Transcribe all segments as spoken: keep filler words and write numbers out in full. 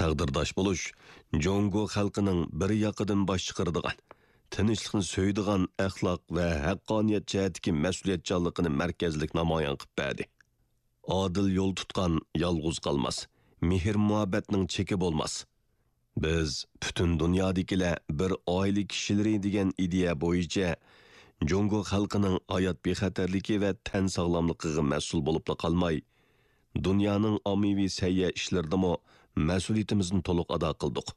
تەقدىرداش بولۇش جۇڭگو خەلقىنىڭ بىر ياقىدىن باش چىقىرىدىغان، تىنچلىقنى سۆيىدىغان ئەخلاق ۋە ھەققانىيەت جەھەتتىكى مەسئۇلىيەتچانلىقىنى مەركەزلىك نامايان قىلىپ بەردى. ئادىل يول تۇتقان يالغۇز قالماس، مېھىر-مۇھەببەتنىڭ چېكى بولماس. بىز پۈتۈن دۇنيادىكىلەر بىر ئائىلە كىشىلىرى دېگەن ئىدىيە بويىچە جۇڭگو خەلقىنىڭ ھايات بىخەتەرلىكى ۋە تەن ساغلاملىقىغا مەسئۇل بولۇپلا قالماي، دۇنيانىڭ ئاممىۋى سەھىيە ئىشلىرىدىمۇ مەسئۇلىيىتىمىزنى تولۇق ئادا قىلدۇق.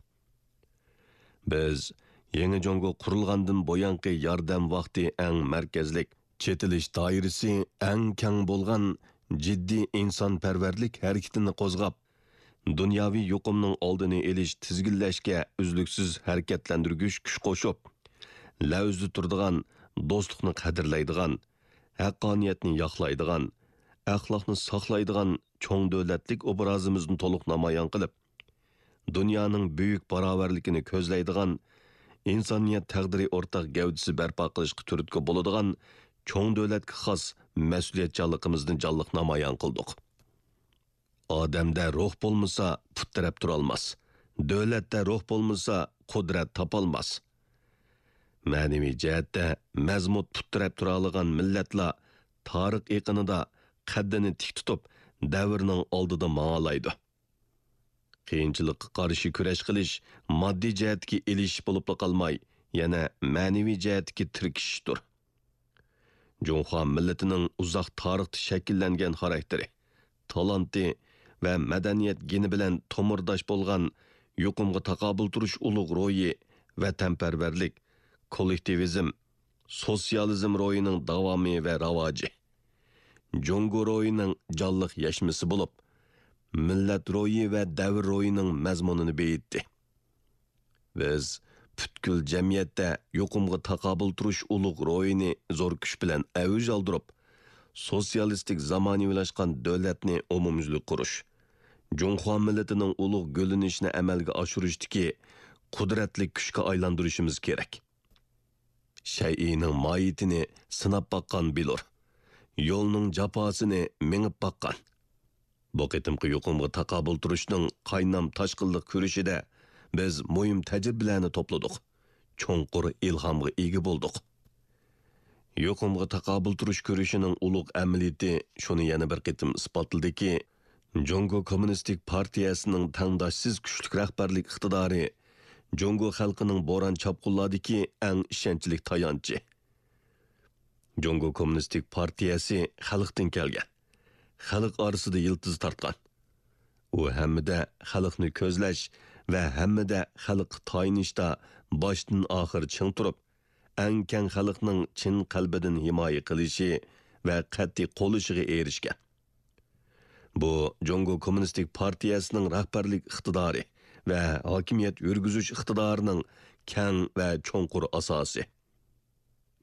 بىز يېڭى جۇڭگو قۇرۇلغاندىن بۇيانقى ياردەم ۋاقتى ئەڭ مەركەزلىك، چېتىلىش دائىرىسى ئەڭ كەڭ بولغان جىددىي ئىنسانپەرۋەرلىك ھەرىكىتىنى قوزغاپ، دۇنياۋى يۇقۇمنىڭ ئالدىنى ئېلىش، تىزگىنلەشكە ئۈزلۈكسىز ھەرىكەتلەندۈرگۈچ كۈچ قوشۇپ، لەۋزىدە تۇرىدىغان، دوستلۇقنى قەدىرلەيدىغان، ھەققانىيەتنى ياقلايدىغان، ئەخلاقنى ساقلايدىغان چوڭ دۆلەتلىك ئوبرازىمىزنى تولۇق نامايان قىلىپ، دۇنيانىڭ بۈيۈك باراۋەرلىكىنى كۆزلەيدىغان، ئىنسانىيەت تەقدىرى ئورتاق گەۋدىسى بەرپا قىلىشقا تۈرتكە بولىدىغان چوڭ دۆلەتكە خاس مەسئۇلىيەتچانلىقىمىزنى جانلىق نامايان قىلدۇق. ئادەمدە روھ بولمىسا، پۇت تىرەپ تۇرالماس. دۆلەتتە روھ بولمىسا، قۇدرەت تاپالماس. مەنىۋى جەھەتتە مەزمۇت پۇت تىرەپ تۇرالىغان مىللەتلا تارىخ ئېقىنىدا قەددىنى تىك تۇتۇپ، دەۋرنىڭ ئالدىدا ماڭالايدۇ. قىيىنچىلىققا قارشى كۈرەش قىلىش ماددىي جەھەتتىكى ئېلىشىش بولۇپلا قالماي، يەنە مەنىۋى جەھەتتىكى تىركىشىشتۇر. جۇڭخۇا مىللىتىنىڭ ئۇزاق تارىختا شەكىللەنگەن خاراكتېرى، تالانتى ۋە مەدەنىيەت گېنى بىلەن تومۇرداش بولغان يۇقۇمغا تاقابىل تۇرۇش ئۇلۇغ روھى، ۋەتەنپەرۋەرلىك، كوللېكتىۋىزم، سوتسىيالىزم روھىنىڭ داۋامى ۋە راۋاجى، جۇڭگو روھىنىڭ جانلىق يەشمىسى بولۇپ، مىللەت روھى ۋە دەۋر روھىنىڭ مەزمۇنىنى بېيىتتى. بىز پۈتكۈل جەمئىيەتتە يۇقۇمغا تاقابىل تۇرۇش ئۇلۇغ روھىنى زور كۈچ بىلەن ئەۋج ئالدۇرۇپ، سوتسىيالىستىك زامانىۋىلاشقان دۆلەتنى ئومۇميۈزلۈك قۇرۇش، جۇڭخۇا مىللىتىنىڭ ئۇلۇغ گۈللىنىشىنى ئەمەلگە ئاشۇرۇشتىكى قۇدرەتلىك كۈچكە ئايلاندۇرۇشىمىز كېرەك. شەيئىنىڭ ماھىيىتىنى سىناپ باققان بىلۇر. يولنىڭ جاپاسىنى مېڭىپ باققان. بۇ قېتىمقى يۇقۇمغا تاقابىل تۇرۇشنىڭ قاينام تاشقىنلىق كۈرىشىدە بىز مۇھىم تەجرىبىلەرنى توپلىدۇق، چوڭقۇر ئىلھامغا ئىگە بولدۇق. يۇقۇمغا تاقابىل تۇرۇش كۈرىشىنىڭ ئۇلۇغ ئەمەلىيىتى شۇنى يەنە بىر قېتىم ئىسپاتلىدىكى، جۇڭگو كوممۇنىستىك پارتىيەسىنىڭ تەڭداشسىز كۈچلۈك رەھبەرلىك ئىقتىدارى جۇڭگو خەلقىنىڭ بوران-چاپقۇنلاردىكى ئەڭ ئىشەنچلىك تايانچى. جۇڭگو كوممۇنىستىك پارتىيەسى خەلقتىن كەلگەن، خەلق ئارىسىدا يىلتىز تارتقان. ئۇ ھەممىدە خەلقنى كۆزلەش ۋە ھەممىدە خەلققە تايىنىشتا باشتىن ئاخىر چىڭ تۇرۇپ، ئەڭ كەڭ خەلقنىڭ چىن قەلبىدىن ھىمايە قىلىشى ۋە قەتئىي قوللىشىغا ئېرىشكەن. بۇ جۇڭگو كوممۇنىستىك پارتىيەسىنىڭ رەھبەرلىك ئىقتىدارى ۋە ھاكىمىيەت يۈرگۈزۈش ئىقتىدارىنىڭ كەڭ ۋە چوڭقۇر ئاساسى.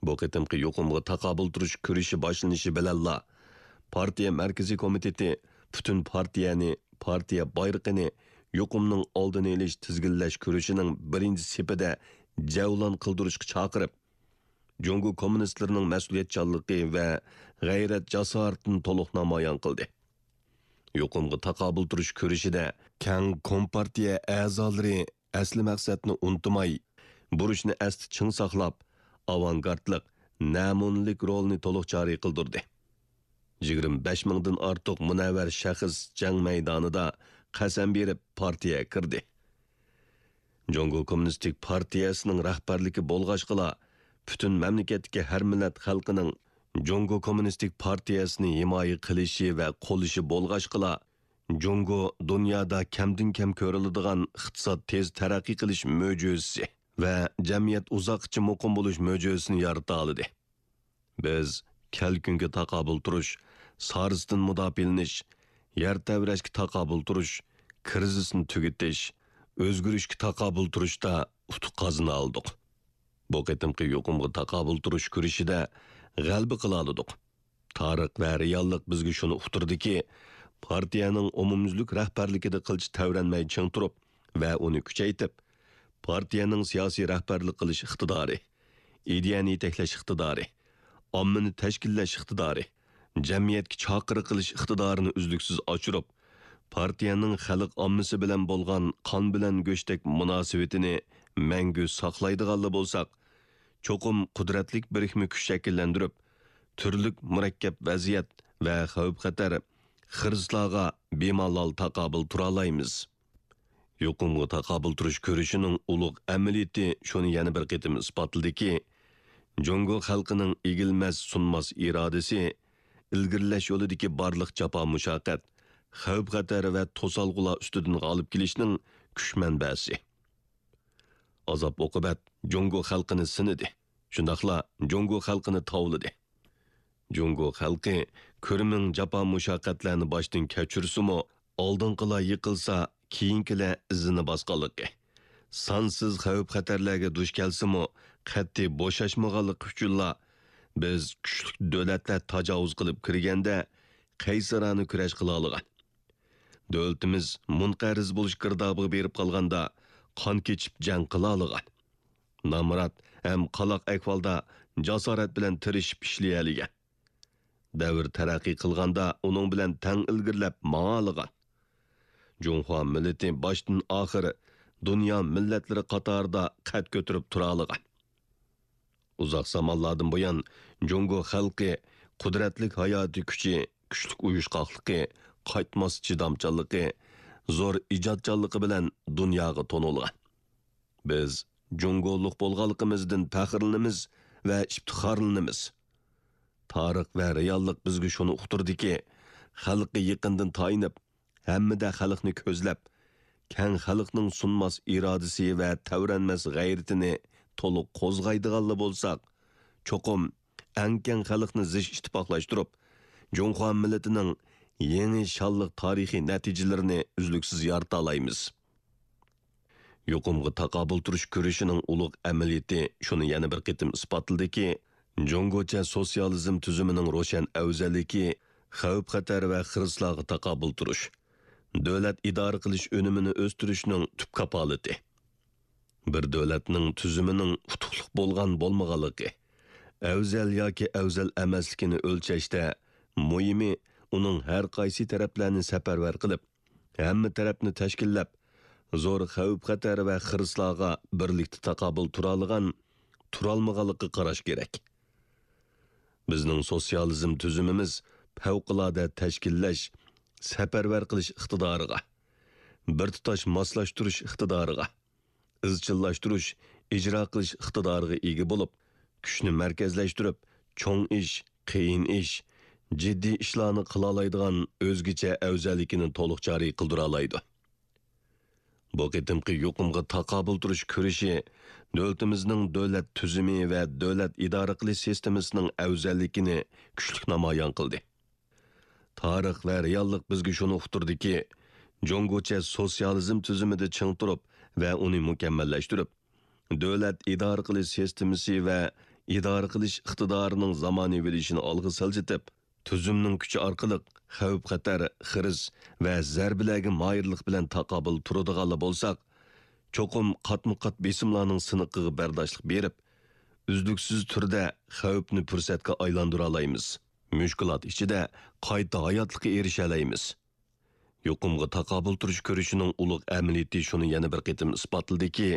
بۇ قېتىمقى يۇقۇمغا تاقابىل تۇرۇش كۈرىشى باشلىنىشى بىلەنلا، پارتىيە مەركىزىي كومىتېتى پۈتۈن پارتىيەنى، پارتىيە بايرىقىنى يۇقۇمنىڭ ئالدىنى ئېلىش، تىزگىنلەش كۈرىشىنىڭ بىرىنچى سېپىدە جەۋلان قىلدۇرۇشقا چاقىرىپ، جۇڭگو كوممۇنىستلىرىنىڭ مەسئۇلىيەتچانلىقى ۋە غەيرەتجاسارىتىنى تولۇق نامايان قىلدى. يۇقۇمغا تاقابىل تۇرۇش كۈرىشىدە كەڭ كومپارتىيە ئەزالىرى ئەسلى مەقسەتنى ئۇنتۇماي، بۇرچنى ئەستە چىڭ ساقلاپ، ئاۋانگارتلىق، نەمۇنىلىك رولىنى تولۇق جارى قىلدۇردى. يىگىرمە بەش مىڭدىن ئارتۇق مۇنەۋۋەر شەخس جەڭ مەيدانىدا قەسەم بېرىپ پارتىيەگە كىردى. جۇڭگو كوممۇنىستىك پارتىيەسىنىڭ رەھبەرلىكى بولغاچقىلا، پۈتۈن مەملىكەتتىكى ھەر مىللەت خەلقىنىڭ جۇڭگو كوممۇنىستىك پارتىيەسىنى ھىمايە قىلىشى ۋە قوللىشى بولغاچقىلا، جۇڭگو دۇنيادا كەمدىن كەم كۆرۈلىدىغان ئىقتىساد تېز تەرەققىي قىلىش مۆجىزىسى ۋە جەمئىيەت ئۇزاققىچە مۇقىم بولۇش مۆجىزىسىنى يارىتالىدى. بىز كەلكۈنگە تاقابىل تۇرۇش، سارىسىدىن مۇداپىئەلىنىش، يەر تەۋرەشكە تاقابىل تۇرۇش، كىرىزىسنى تۈگىتىش، ئۆزگىرىشكە تاقابىل تۇرۇشتا ئۇتۇق قازىنالىدۇق. بۇ قېتىمقى يۇقۇمغا تاقابىل تۇرۇش كۈرىشىدە غەلىبە قىلالىدۇق. تارىخ ۋە رېئاللىق بىزگە شۇنى ئۇقتۇردىكى، پارتىيەنىڭ ئومۇميۈزلۈك رەھبەرلىكىدە قىلچە تەۋرەنمەي چىڭ تۇرۇپ ۋە ئۇنى كۈچەيتىپ، پارتىيەنىڭ سىياسىي رەھبەرلىك قىلىش ئىقتىدارى، ئىدىيەنى يېتەكلەش ئىقتىدارى، ئاممىنى تەشكىللەش ئىقتىدارى، جەمئىيەتكە چاقىرىق قىلىش ئىقتىدارىنى ئۈزلۈكسىز ئاشۇرۇپ، پارتىيەنىڭ خەلق ئاممىسى بىلەن بولغان قان بىلەن گۆشتەك مۇناسىۋىتىنى مەڭگۈ ساقلايدىغانلا بولساق، چوقۇم قۇدرەتلىك بىرىكمە كۈچ شەكىللەندۈرۈپ، تۈرلۈك مۇرەككەپ ۋەزىيەت ۋە خەۋپ-خەتەر، خىرىسلارغا بىمالال تاقابىل تۇرالايمىز. يۇقۇمغا تاقابىل تۇرۇش كۈرىشىنىڭ ئۇلۇغ ئەمەلىيىتى شۇنى يەنە بىر قېتىم ئىسپاتلىدىكى، جۇڭگو خەلقىنىڭ ئېگىلمەس، سۇنماس ئىرادىسى، ئىلگىرىلەش يولىدىكى بارلىق جاپا-مۇشەققەت، خەۋپ-خەتەر ۋە توسالغۇلار ئۈستىدىن غالىب كېلىشنىڭ كۈچ مەنبەسى. ئازاب-ئوقۇبەت جۇڭگو خەلقىنى سىنىدى، شۇنداقلا جۇڭگو خەلقىنى تاۋلىدى. جۇڭگو خەلقى كۆرمىڭ جاپا-مۇشەققەتلەرنى باشتىن كەچۈرسىمۇ، ئالدىنقىلار يىقىلسا، كېيىنكىلەر ئىزىنى باسقانلىقى، سانسىز خەۋپ-خەتەرلەرگە دۇچ كەلسىمۇ، قەتئىي بوشاشمىغانلىقى ئۈچۈنلا، بىز كۈچلۈك دۆلەتلەر تاجاۋۇز قىلىپ كىرگەندە، قەيسەرانە كۈرەش قىلالىغان. دۆلىتىمىز مۇنقەرز بولۇش گىردابىغا بېرىپ قالغاندا، قان كېچىپ جەڭ قىلالىغان. نامرات ھەم قالاق ئەھۋالدا جاسارەت بىلەن تىرىشىپ ئىشلىيەلىگەن. دەۋر تەرەققىي قىلغاندا ئۇنىڭ بىلەن تەڭ ئىلگىرىلەپ ماڭالىغان. جۇڭخۇا مىللىتى باشتىن ئاخىر دۇنيا مىللەتلىرى قاتارىدا قەد كۆتۈرۈپ تۇرالىغان. ئۇزاق زامانلاردىن بۇيان جۇڭگو خەلقى قۇدرەتلىك ھاياتىي كۈچى، كۈچلۈك ئۇيۇشقاقلىقى، قايتماس چىدامچانلىقى، زور ئىجادچانلىقى بىلەن دۇنياغا تونۇلغان. بىز جۇڭگولۇق بولغانلىقىمىزدىن پەخىرلىنىمىز ۋە ئىپتىخارلىنىمىز. تارىخ ۋە رېئاللىق بىزگە شۇنى ئۇقتۇردىكى، خەلققە يېقىندىن تايىنىپ، ھەممىدە خەلقنى كۆزلەپ، كەڭ خەلقنىڭ سۇنماس ئىرادىسى ۋە تەۋرەنمەس غەيرىتىنى تولۇق قوزغايدىغانلا بولساق، چوقۇم ئەڭ كەڭ خەلقنى زىچ ئىتتىپاقلاشتۇرۇپ، جۇڭخۇا مىللىتىنىڭ يېڭى شانلىق تارىخىي نەتىجىلىرىنى ئۈزلۈكسىز يارىتالايمىز. يۇقۇمغا تاقابىل تۇرۇش كۈرىشىنىڭ ئۇلۇغ ئەمەلىيىتى شۇنى يەنە بىر قېتىم ئىسپاتلىدىكى، جۇڭگوچە سوتسىيالىزم تۈزۈمىنىڭ روشەن ئەۋزەللىكى خەۋپ-خەتەر ۋە خىرىسلارغا تاقابىل تۇرۇش، دۆلەت ئىدارە قىلىش ئۈنۈمىنى ئۆستۈرۈشنىڭ تۈپ كاپالىتى. بىر دۆلەتنىڭ تۈزۈمىنىڭ ئۇتۇقلۇق بولغان بولمىغانلىقى، ئەۋزەل ياكى ئەۋزەل ئەمەسلىكىنى ئۆلچەشتە مۇھىمى ئۇنىڭ ھەر قايسى تەرەپلەرنى سەپەرۋەر قىلىپ، ھەممە تەرەپنى تەشكىللەپ، زور خەۋپ-خەتەر ۋە خىرىسلارغا بىرلىكتە تاقابىل تۇرالىغان، تۇرالمىغانلىقىغا قاراش كېرەك. بىزنىڭ سوتسىيالىزم تۈزۈمىمىز پەۋقۇلئاددە تەشكىللەش، سەپەرۋەر قىلىش ئىقتىدارىغا، بىر تۇتاش ماسلاشتۇرۇش ئىقتىدارىغا، ئىزچىللاشتۇرۇش، ئىجرا قىلىش ئىقتىدارىغا ئىگە بولۇپ، كۈچنى مەركەزلەشتۈرۈپ، چوڭ ئىش، قىيىن ئىش، جىددىي ئىشلارنى قىلالايدىغان ئۆزگىچە ئەۋزەللىكىنى تولۇق جارى قىلدۇرالايدۇ. بۇ قېتىمقى يۇقۇمغا تاقابىل تۇرۇش كۈرىشى دۆلىتىمىزنىڭ دۆلەت تۈزۈمى ۋە دۆلەت ئىدارە قىلىش سىستېمىسىنىڭ ئەۋزەللىكىنى كۈچلۈك نامايان قىلدى. تارىخ ۋە رېئاللىق بىزگە شۇنى ئۇقتۇردىكى، جۇڭگوچە سوتسىيالىزم تۈزۈمىدە چىڭ تۇرۇپ ۋە ئۇنى مۇكەممەللەشتۈرۈپ، دۆلەت ئىدارە قىلىش سىستېمىسى ۋە ئىدارە قىلىش ئىقتىدارىنىڭ زامانىۋىلىشىشىنى ئالغا سىلجىتىپ، تۈزۈمنىڭ كۈچى ئارقىلىق خەۋپ-خەتەر، خىرىس ۋە زەربىلەرگە ماھىرلىق بىلەن تاقابىل تۇرىدىغانلا بولساق، چوقۇم قاتمۇ-قات بېسىملارنىڭ سىنىقىغا بەرداشلىق بېرىپ، ئۈزلۈكسىز تۈردە خەۋپنى پۇرسەتكە ئايلاندۇرالايمىز. مۈشكۈلات ئىچىدە قايتا ھاياتلىققا ئېرىشەلەيمىز. يۇقۇمغا تاقابىل تۇرۇش كۈرىشىنىڭ ئۇلۇغ ئەمەلىيىتى شۇنى يەنە بىر قېتىم ئىسپاتلىدىكى،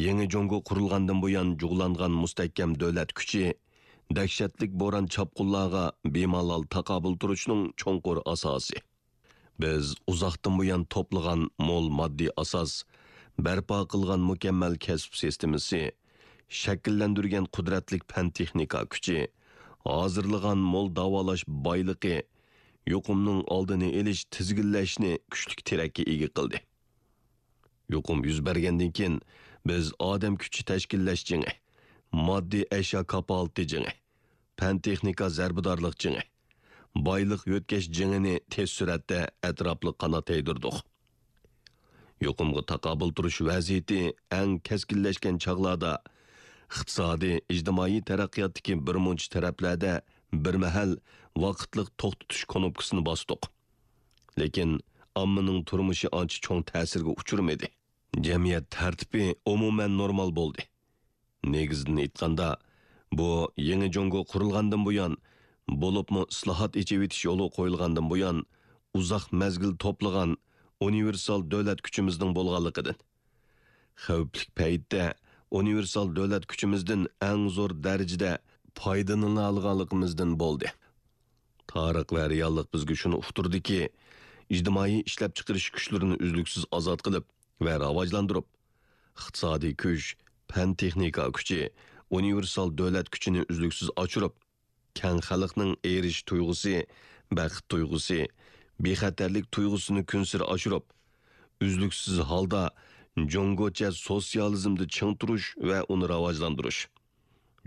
يېڭى جۇڭگو قۇرۇلغاندىن بۇيان جۇغلانغان مۇستەھكەم دۆلەت كۈچى، دەھشەتلىك بوران-چاپقۇنلارغا بىمالال تاقابىل تۇرۇشنىڭ چوڭقۇر ئاساسى. بىز ئۇزاقتىن بۇيان توپلىغان مول ماددىي ئاساس، بەرپا قىلغان مۇكەممەل كەسىپ سىستېمىسى، شەكىللەندۈرگەن قۇدرەتلىك پەن-تېخنىكا كۈچى، ھازىرلىغان مول داۋالاش بايلىقى يۇقۇمنىڭ ئالدىنى ئېلىش، تىزگىنلەشنى كۈچلۈك تىرەككە ئىگە قىلدى. يۇقۇم يۈز بەرگەندىن كېيىن، بىز ئادەم كۈچى تەشكىللەش جېڭى، ماددىي ئەشيا كاپالىتى جېڭى، پەن-تېخنىكا زەربىدارلىق جېڭى، بايلىق يۆتكەش جېڭىنى تېز سۈرئەتتە ئەتراپلىق قانات يايدۇردۇق. يۇقۇمغا تاقابىل تۇرۇش ۋەزىيىتى ئەڭ كەسكىنلەشكەن چاغلاردا، ئىقتىسادىي، ئىجتىمائىي تەرەققىياتتىكى بىرمۇنچە تەرەپلەردە بىر مەھەل ۋاقىتلىق توختىتىش كۇنۇپكىسىنى باستۇق. لېكىن ئاممىنىڭ تۇرمۇشى ئانچە چوڭ تەسىرگە ئۇچرىمىدى. جەمئىيەت تەرتىپى ئومۇمەن نورمال بولدى. نېگىزىدىن ئېيتقاندا، بۇ يېڭى جۇڭگو قۇرۇلغاندىن بۇيان، بولۇپمۇ ئىسلاھات، ئېچىۋېتىش يولى قويۇلغاندىن بۇيان، ئۇزاق مەزگىل توپلىغان ئۇنىۋېرسال دۆلەت كۈچىمىزنىڭ بولغانلىقىدىن، خەۋپلىك پەيتتە ئۇنىۋېرسال دۆلەت كۈچىمىزدىن ئەڭ زور دەرىجىدە پايدىلىنالىغانلىقىمىزدىن بولدى. تارىخ ۋە رېئاللىق بىزگە شۇنى ئۇقتۇردىكى، ئىجتىمائىي ئىشلەپچىقىرىش كۈچلىرىنى ئۈزلۈكسىز ئازاد قىلىپ ۋە راۋاجلاندۇرۇپ، ئىقتىسادىي كۈچ، پەن-تېخنىكا كۈچى، ئۇنىۋېرسال دۆلەت كۈچىنى ئۈزلۈكسىز ئاشۇرۇپ، كەڭ خەلقنىڭ ئېرىشىش تۇيغۇسى، بەخت تۇيغۇسى، بىخەتەرلىك تۇيغۇسىنى كۈنسېرى ئاشۇرۇپ، ئۈزلۈكسىز ھالدا جۇڭگوچە سوتسىيالىزمدا چىڭ تۇرۇش ۋە ئۇنى راۋاجلاندۇرۇش،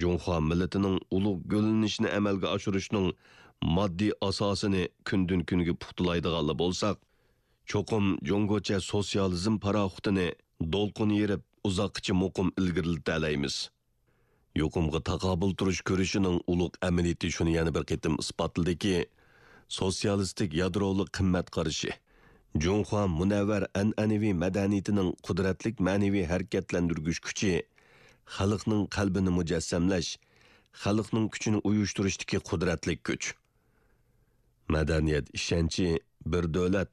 جۇڭخۇا مىللىتىنىڭ ئۇلۇغ گۈللىنىشىنى ئەمەلگە ئاشۇرۇشنىڭ ماددىي ئاساسىنى كۈندىن-كۈنگە پۇختىلايدىغانلا بولساق، چوقۇم جۇڭگوچە سوتسىيالىزم پاراخوتىنى دولقۇن يېرىپ، ئۇزاققىچە مۇقىم ئىلگىرىلىتەلەيمىز. يۇقۇمغا تاقابىل تۇرۇش كۈرىشىنىڭ ئۇلۇغ ئەمەلىيىتى شۇنى يەنە بىر قېتىم ئىسپاتلىدىكى، سوتسىيالىستىك يادرولۇق قىممەت قارىشى، جۇڭخۇا مۇنەۋۋەر ئەنئەنىۋى مەدەنىيىتىنىڭ قۇدرەتلىك مەنىۋى ھەرىكەتلەندۈرگۈچ كۈچى، خەلقنىڭ قەلبىنى مۇجەسسەملەش، خەلقنىڭ كۈچىنى ئۇيۇشتۇرۇشتىكى قۇدرەتلىك كۈچ. مەدەنىيەت ئىشەنچى بىر دۆلەت،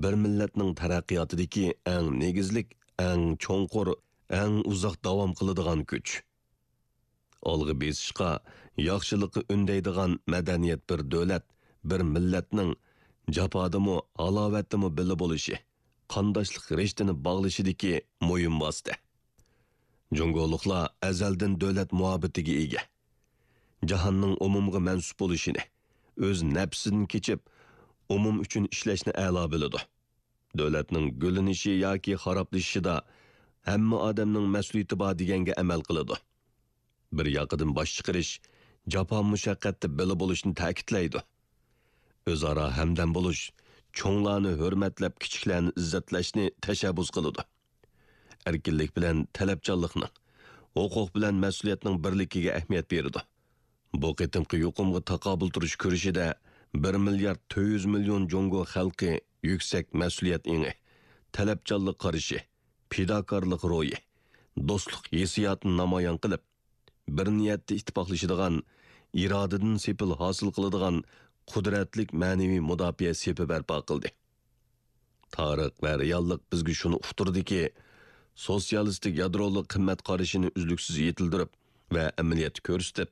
بىر مىللەتنىڭ تەرەققىياتىدىكى ئەڭ نېگىزلىك، ئەڭ چوڭقۇر، ئەڭ ئۇزاق داۋام قىلىدىغان كۈچ. ئالغا بېسىشقا، ياخشىلىققا ئۈندەيدىغان مەدەنىيەت بىر دۆلەت، بىر مىللەتنىڭ جاپادىمۇ، ھالاۋەتتىمۇ بىللە بولۇشى، قانداشلىق رىشتىنى باغلىشىدىكى مۇھىم ۋاسىتە. جۇڭگولۇقلار ئەزەلدىن دۆلەت مۇھەببىتىگە ئىگە. جاھاننىڭ ئومۇمغا مەنسۇپ بولۇشىنى، ئۆز نەپسىدىن كېچىپ، ئومۇم ئۈچۈن ئىشلەشنى ئەلا بىلىدۇ. دۆلەتنىڭ گۈللىنىشى ياكى خارابلىشىشىدا ھەممە ئادەمنىڭ مەسئۇلىيىتى بار دېگەنگە ئەمەل قىلىدۇ. بىر ياقىدىن باش چىقىرىش، جاپا-مۇشەققەتتە بىللە بولۇشنى تەكىتلەيدۇ. ئۆزئارا ھەمدەم بولۇش، چوڭلارنى ھۆرمەتلەپ، كىچىكلەرنى ئىززەتلەشنى تەشەببۇس قىلىدۇ. ئەركىنلىك بىلەن تەلەپچانلىقنىڭ، ھوقۇق بىلەن مەسئۇلىيەتنىڭ بىرلىكىگە ئەھمىيەت بېرىدۇ. بۇ قېتىمقى يۇقۇمغا تاقابىل تۇرۇش كۈرىشىدە بىر مىليارد تۆت يۈز مىليون جۇڭگو خەلقى يۈكسەك مەسئۇلىيەت ئېڭى، تەلەپچانلىق قارىشى، پىداكارلىق روھى، دوستلۇق ھېسسىياتىنى نامايان قىلىپ، بىر نىيەتتە ئىتتىپاقلىشىدىغان، ئىرادىدىن سېپىل ھاسىل قىلىدىغان قۇدرەتلىك مەنىۋى مۇداپىئە سېپى بەرپا قىلدى. تارىخ ۋە رېئاللىق بىزگە شۇنى ئۇقتۇردىكى، سوتسىيالىستىك يادرولۇق قىممەت قارىشىنى ئۈزلۈكسىز يېتىلدۈرۈپ ۋە ئەمەلىيەتتە كۆرسىتىپ،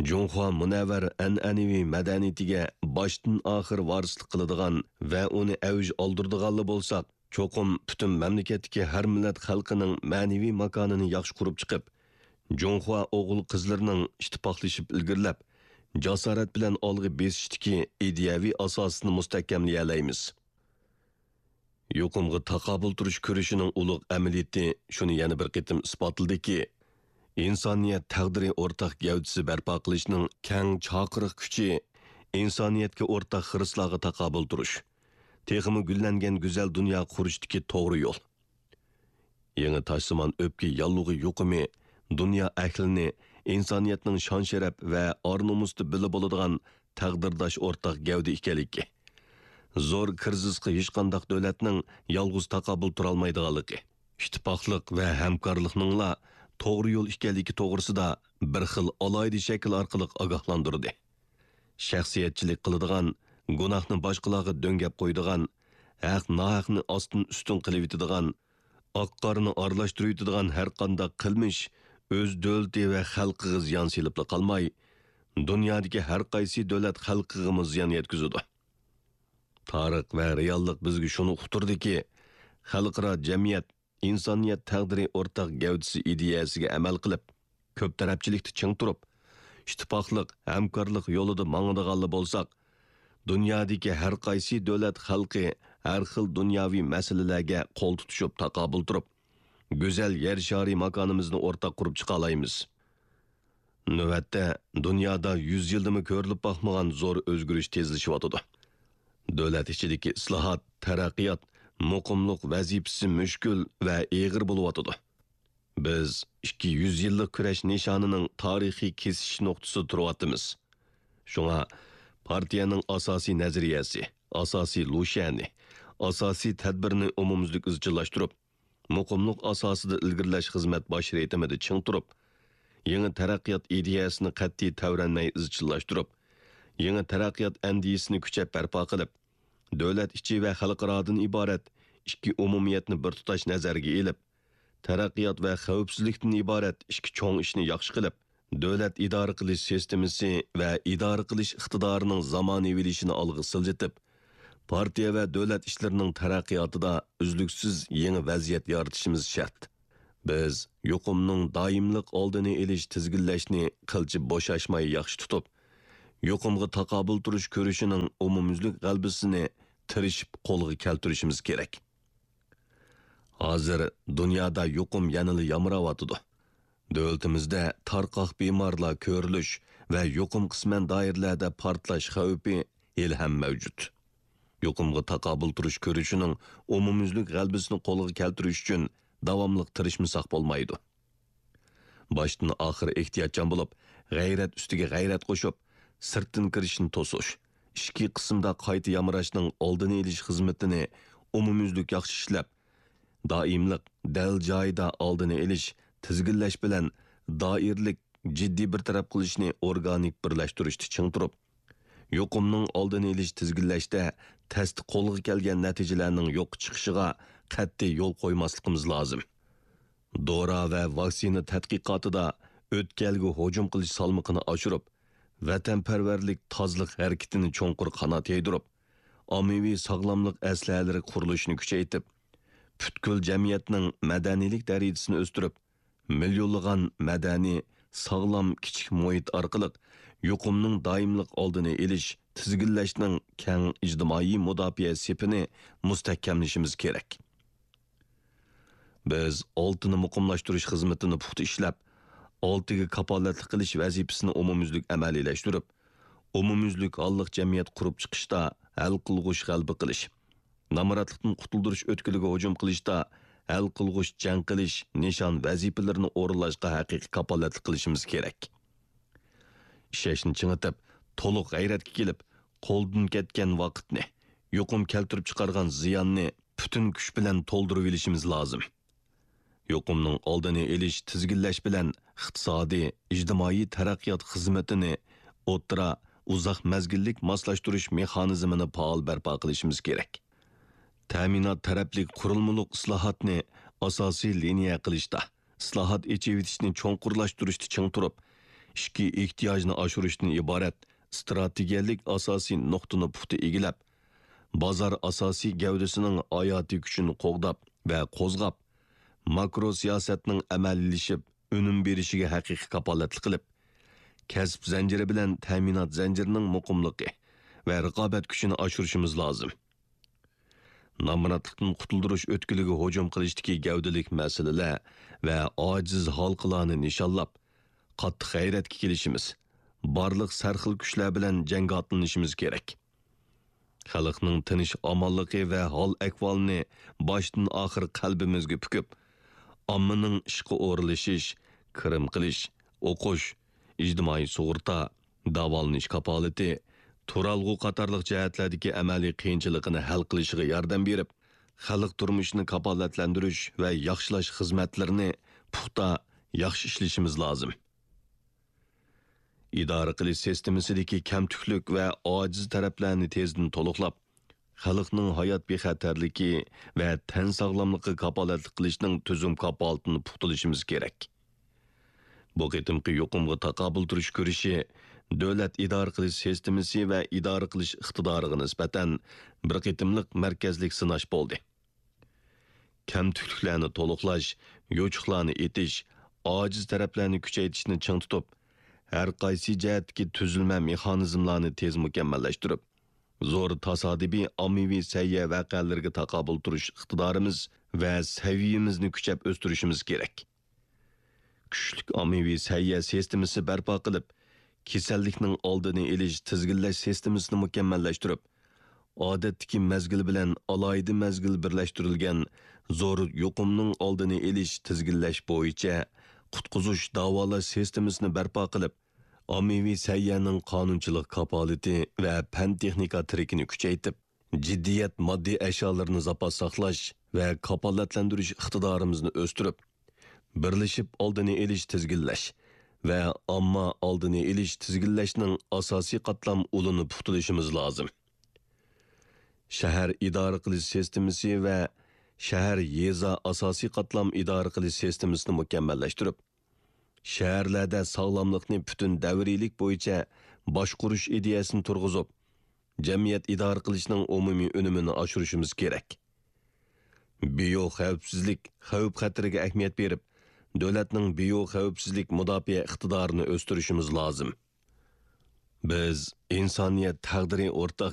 جۇڭخۇا مۇنەۋۋەر ئەنئەنىۋى مەدەنىيىتىگە باشتىن ئاخىر ۋارىسلىق قىلىدىغان ۋە ئۇنى ئەۋج ئالدۇرىدىغانلا بولساق، چوقۇم پۈتۈن مەملىكەتتىكى ھەر مىللەت خەلقىنىڭ مەنىۋى ماكانىنى ياخشى قۇرۇپ چىقىپ، جۇڭخۇا ئوغۇل-قىزلىرىنىڭ ئىتتىپاقلىشىپ ئىلگىرىلەپ، جاسارەت بىلەن ئالغا بېسىشتىكى ئىدىيەۋى ئاساسىنى مۇستەھكەملىيەلەيمىز. يۇقۇمغا تاقابىل تۇرۇش كۈرىشىنىڭ ئۇلۇغ ئەمەلىيىتى شۇنى يەنە بىر قېتىم ئىسپاتلىدىكى، ئىنسانىيەت تەقدىرى ئورتاق گەۋدىسى بەرپا قىلىشنىڭ كەڭ چاقىرىق كۈچى، ئىنسانىيەتكە ئورتاق خىرىسلارغا تاقابىل تۇرۇش، تېخىمۇ گۈللەنگەن گۈزەل دۇنيا قۇرۇشتىكى توغرا يول. يېڭى تاشسىمان ئۆپكە ياللۇغى يۇقۇمى دۇنيا ئەھلىنى ئىنسانىيەتنىڭ شان-شەرەپ ۋە ئار-نومۇستا بىللە بولىدىغان تەقدىرداش ئورتاق گەۋدە ئىكەنلىكى، زور كىرىزىسقا ھېچقانداق دۆلەتنىڭ يالغۇز تاقابىل تۇرالمايدىغانلىقى، ئىتتىپاقلىق ۋە ھەمكارلىقنىڭلا توغرا يول ئىكەنلىكى توغرىسىدا بىر خىل ئالاھىدە شەكىل ئارقىلىق ئاگاھلاندۇردى. شەخسىيەتچىلىك قىلىدىغان، گۇناھنى باشقىلارغا دۆڭگەپ قويىدىغان، ھەق-ناھەقنى ئاستىن-ئۈستۈن قىلىۋېتىدىغان، ئاق-قارىنى ئارىلاشتۇرۇۋېتىدىغان ھەرقانداق قىلمىش ئۆز دۆلىتى ۋە خەلقىگە زىيان سېلىپلا قالماي، دۇنيادىكى ھەرقايسى دۆلەت خەلقىگىمۇ زىيان يەتكۈزىدۇ. تارىخ ۋە رېئاللىق بىزگە شۇنى ئۇقتۇردىكى، خەلقئارا جەمئىيەت ئىنسانىيەت تەقدىرى ئورتاق گەۋدىسى ئىدىيەسىگە ئەمەل قىلىپ، كۆپ تەرەپچىلىكتە چىڭ تۇرۇپ، ئىتتىپاقلىق، ھەمكارلىق يولىدا ماڭىدىغانلا بولساق، دۇنيادىكى ھەرقايسى دۆلەت خەلقى ھەر خىل دۇنياۋى مەسىلىلەرگە قول تۇتۇشۇپ تاقابىل تۇرۇپ، گۈزەل يەر شارى ماكانىمىزنى ئورتاق قۇرۇپ چىقالايمىز. نۆۋەتتە، دۇنيادا يۈز يىلدىمۇ كۆرۈلۈپ باقمىغان زور ئۆزگىرىش تېزلىشىۋاتىدۇ. دۆلەت ئىچىدىكى ئىسلاھات، تەرەققىيات، مۇقىملىق ۋەزىپىسى مۈشكۈل ۋە ئېغىر بولۇۋاتىدۇ. بىز ئىككى يۈز يىللىق كۈرەش نىشانىنىڭ تارىخىي كېسىشىش نۇقتىسىدا تۇرۇۋاتىمىز. شۇڭا پارتىيەنىڭ ئاساسىي نەزەرىيەسى، ئاساسىي لۇشيەنى، ئاساسىي تەدبىرىنى ئومۇميۈزلۈك ئىزچىللاشتۇرۇپ، مۇقىملىق ئاساسىدا ئىلگىرىلەش خىزمەت باش رىتىمىدا چىڭ تۇرۇپ، يېڭى تەرەققىيات ئىدىيەسىنى قەتئىي تەۋرەنمەي ئىزچىللاشتۇرۇپ، يېڭى تەرەققىيات ئەندىزىسىنى كۈچەپ بەرپا قىلىپ، دۆلەت ئىچى ۋە خەلقئارادىن ئىبارەت ئىككى ئومۇمىيەتنى بىر تۇتاش نەزەرگە ئېلىپ، تەرەققىيات ۋە خەۋپسىزلىكتىن ئىبارەت ئىككى چوڭ ئىشنى ياخشى قىلىپ، دۆلەت ئىدارە قىلىش سىستېمىسى ۋە ئىدارە قىلىش ئىقتىدارىنىڭ زامانىۋىلىشىشىنى ئالغا سىلجىتىپ، پارتىيە ۋە دۆلەت ئىشلىرىنىڭ تەرەققىياتىدا ئۈزلۈكسىز يېڭى ۋەزىيەت يارىتىشىمىز شەرت. بىز يۇقۇمنىڭ دائىملىق ئالدىنى ئېلىش، تىزگىنلەشنى قىلچە بوشاشماي ياخشى تۇتۇپ، يۇقۇمغا تاقابىل تۇرۇش كۈرىشىنىڭ ئومۇميۈزلۈك غەلىبىسىنى تىرىشىپ قولغا كەلتۈرۈشىمىز كېرەك. ھازىر دۇنيادا يۇقۇم يەنىلا يامراۋاتىدۇ. دۆلىتىمىزدە تارقاق بىمارلار كۆرۈلۈش ۋە يۇقۇم قىسمەن دائىرىلەردە پارتلاش خەۋپى ھېلىھەم مەۋجۇت. يۇقۇمغا تاقابىل تۇرۇش كۈرىشىنىڭ ئومۇميۈزلۈك غەلىبىسىنى قولغا كەلتۈرۈش ئۈچۈن داۋاملىق تىرىشمىساق بولمايدۇ. باشتىن ئاخىر ئېھتىياتچان بولۇپ، غەيرەت ئۈستىگە غەيرەت قوشۇپ، سىرتتىن كىرىشنى توسۇش، ئىچكى قىسىمدا قايتا يامراشنىڭ ئالدىنى ئېلىش خىزمىتىنى ئومۇميۈزلۈك ياخشى ئىشلەپ، دائىملىق، دەل جايىدا ئالدىنى ئېلىش، تىزگىنلەش بىلەن دائىرىلىك جىددىي بىر تەرەپ قىلىشنى ئورگانىك بىرلەشتۈرۈشتە چىڭ تۇرۇپ، يۇقۇمنىڭ ئالدىنى ئېلىش، تىزگىنلەشتە تەستە قولغا كەلگەن نەتىجىلەرنىڭ يوققا چىقىشىغا قەتئىي يول قويماسلىقىمىز لازىم. دورا ۋە ۋاكسىنا تەتقىقاتىدا ئۆتكەلگە ھۇجۇم قىلىش سالمىقىنى ئاشۇرۇپ، ۋەتەنپەرۋەرلىك تازىلىق ھەرىكىتىنى چوڭقۇر قانات يايدۇرۇپ، ئاممىۋى ساغلاملىق ئەسلىھەلىرى قۇرۇلۇشىنى كۈچەيتىپ، پۈتكۈل جەمئىيەتنىڭ مەدەنىيلىك دەرىجىسىنى ئۆستۈرۈپ، مىليونلىغان مەدەنىي، ساغلام كىچىك مۇھىت ئارقىلىق يۇقۇمنىڭ دائىملىق ئالدىنى ئېلىش، تىزگىنلەشنىڭ كەڭ ئىجتىمائىي مۇداپىئە سېپىنى مۇستەھكەملىشىمىز كېرەك. بىز ئالتىنى مۇقىملاشتۇرۇش خىزمىتىنى پۇختا ئىشلەپ، ئالتىگە كاپالەتلىك قىلىش ۋەزىپىسىنى ئومۇميۈزلۈك ئەمەلىيلەشتۈرۈپ، ئومۇميۈزلۈك ھاللىق جەمئىيەت قۇرۇپ چىقىشتا ھەل قىلغۇچ غەلىبە قىلىش، نامراتلىقتىن قۇتۇلدۇرۇش ئۆتكىلىگە ھۇجۇم قىلىشتا ھەل قىلغۇچ جەڭ قىلىش نىشان ۋەزىپىلىرىنى ئورۇنلاشقا ھەقىقىي كاپالەتلىك قىلىشىمىز كېرەك. ئىشەنچنى چىڭىتىپ، تولۇق غەيرەتكە كېلىپ، قولدىن كەتكەن ۋاقىتنى، يۇقۇم كەلتۈرۈپ چىقارغان زىياننى پۈتۈن كۈچ بىلەن تولدۇرۇۋېلىشىمىز لازىم. يۇقۇمنىڭ ئالدىنى ئېلىش، تىزگىنلەش بىلەن ئىقتىسادىي، ئىجتىمائىي تەرەققىيات خىزمىتىنى ئوتتۇرا، ئۇزاق مەزگىللىك ماسلاشتۇرۇش مېخانىزمىنى پائال بەرپا قىلىشىمىز كېرەك. تەمىنات تەرەپلىك قۇرۇلمىلىق ئىسلاھاتنى ئاساسىي لىنىيە قىلىشتا، ئىسلاھات ئېچىۋېتىشنى چوڭقۇرلاشتۇرۇشتا چىڭ تۇرۇپ، ئىچكى ئېھتىياجنى ئاشۇرۇشتىن ئىبارەت ئىستراتېگىيەلىك ئاساسىي نۇقتىنى پۇختا ئىگىلەپ، بازار ئاساسىي گەۋدىسىنىڭ ھاياتىي كۈچىنى قوغداپ ۋە قوزغاپ، ماكرو سىياسەتنىڭ ئەمەلىيلىشىپ، ئۈنۈم بېرىشىگە ھەقىقىي كاپالەتلىك قىلىپ، كەسىپ زەنجىرى بىلەن تەمىنات زەنجىرىنىڭ مۇقىملىقى ۋە رىقابەت كۈچىنى ئاشۇرۇشىمىز لازىم. نامراتلىقتىن قۇتۇلدۇرۇش ئۆتكىلىگە ھۇجۇم قىلىشتىكى گەۋدىلىك مەسىلىلەر ۋە ئاجىز ھالقىلارنى نىشانلاپ، قاتتىق غەيرەتكە كېلىشىمىز، بارلىق سەرخىل كۈچلەر بىلەن جەڭگە ئاتلىنىشىمىز كېرەك. خەلقنىڭ تىنچ-ئامانلىقى ۋە ھال-ئەھۋالىنى باشتىن-ئاخىر قەلبىمىزگە پۈكۈپ، ئاممىنىڭ ئىشقا ئورۇنلىشىش، كىرىم قىلىش، ئوقۇش، ئىجتىمائىي سۇغۇرتا، داۋالىنىش كاپالىتى، تۇرالغۇ قاتارلىق جەھەتلەردىكى ئەمەلىي قىيىنچىلىقىنى ھەل قىلىشىغا ياردەم بېرىپ، خەلق تۇرمۇشىنى كاپالەتلەندۈرۈش ۋە ياخشىلاش خىزمەتلىرىنى پۇختا، ياخشى ئىشلىشىمىز لازىم. ئىدارە قىلىش سىستېمىسىدىكى كەمتۈكلۈك ۋە ئاجىز تەرەپلەرنى تېزدىن تولۇقلاپ، خەلقنىڭ ھايات بىخەتەرلىكى ۋە تەن ساغلاملىقىغا كاپالەتلىك قىلىشنىڭ تۈزۈم كاپالىتىنى پۇختىلىشىمىز كېرەك. بۇ قېتىمقى يۇقۇمغا تاقابىل تۇرۇش كۈرىشى دۆلەت ئىدارە قىلىش سىستېمىسى ۋە ئىدارە قىلىش ئىقتىدارىغا نىسبەتەن بىر قېتىملىق مەركەزلىك سىناش بولدى. كەمتۈكلۈكلەرنى تولۇقلاش، يوچۇقلارنى ئېتىش، ئاجىز تەرەپلەرنى كۈچەيتىشنى چىڭ تۇتۇپ، ھەر قايسى جەھەتتىكى تۈزۈلمە مېخانىزملارنى تېز مۇكەممەللەشتۈرۈپ، زور تاسادىپىي ئاممىۋى سەھىيە ۋەقەلىرىگە تاقابىل تۇرۇش ئىقتىدارىمىز ۋە سەۋىيىمىزنى كۈچەپ ئۆستۈرۈشىمىز كېرەك. كۈچلۈك ئاممىۋى سەھىيە سىستېمىسى بەرپا قىلىپ، كېسەللىكنىڭ ئالدىنى ئېلىش، تىزگىنلەش سىستېمىسىنى مۇكەممەللەشتۈرۈپ، ئادەتتىكى مەزگىل بىلەن ئالاھىدە مەزگىل بىرلەشتۈرۈلگەن زور يۇقۇمنىڭ ئالدىنى ئېلىش، تىزگىنلەش بويىچە قۇتقۇزۇش، داۋالاش سىستېمىسىنى بەرپا قىلىپ، ئاممىۋى سەھىيەنىڭ قانۇنچىلىق كاپالىتى ۋە پەن-تېخنىكا تىرىكىنى كۈچەيتىپ، جىددىيەت ماددىي ئەشيالىرىنى زاپاس ساقلاش ۋە كاپالەتلەندۈرۈش ئىقتىدارىمىزنى ئۆستۈرۈپ، بىرلىشىپ ئالدىنى ئېلىش، تىزگىنلەش ۋە ئامما ئالدىنى ئېلىش، تىزگىنلەشنىڭ ئاساسىي قاتلام ئۇلىنى پۇختىلىشىمىز لازىم. شەھەر ئىدارە قىلىش سىستېمىسى ۋە شەھەر يېزا ئاساسىي قاتلام ئىدارە قىلىش سىستېمىسىنى مۇكەممەللەشتۈرۈپ، شەھەرلەردە ساغلاملىقنى پۈتۈن دەۋرىيلىك بويىچە باشقۇرۇش ئىدىيەسىنى تۇرغۇزۇپ، جەمئىيەت ئىدارە قىلىشنىڭ ئومۇمىي ئۈنۈمىنى ئاشۇرۇشىمىز كېرەك. بىيو خەۋپسىزلىك خەۋپ خەتىرىگە ئەھمىيەت بېرىپ، دۆلەتنىڭ بىيو خەۋپسىزلىك مۇداپىئە ئىقتىدارىنى ئۆستۈرۈشىمىز لازىم. بىز ئىنسانىيەت تەقدىرى ئورتاق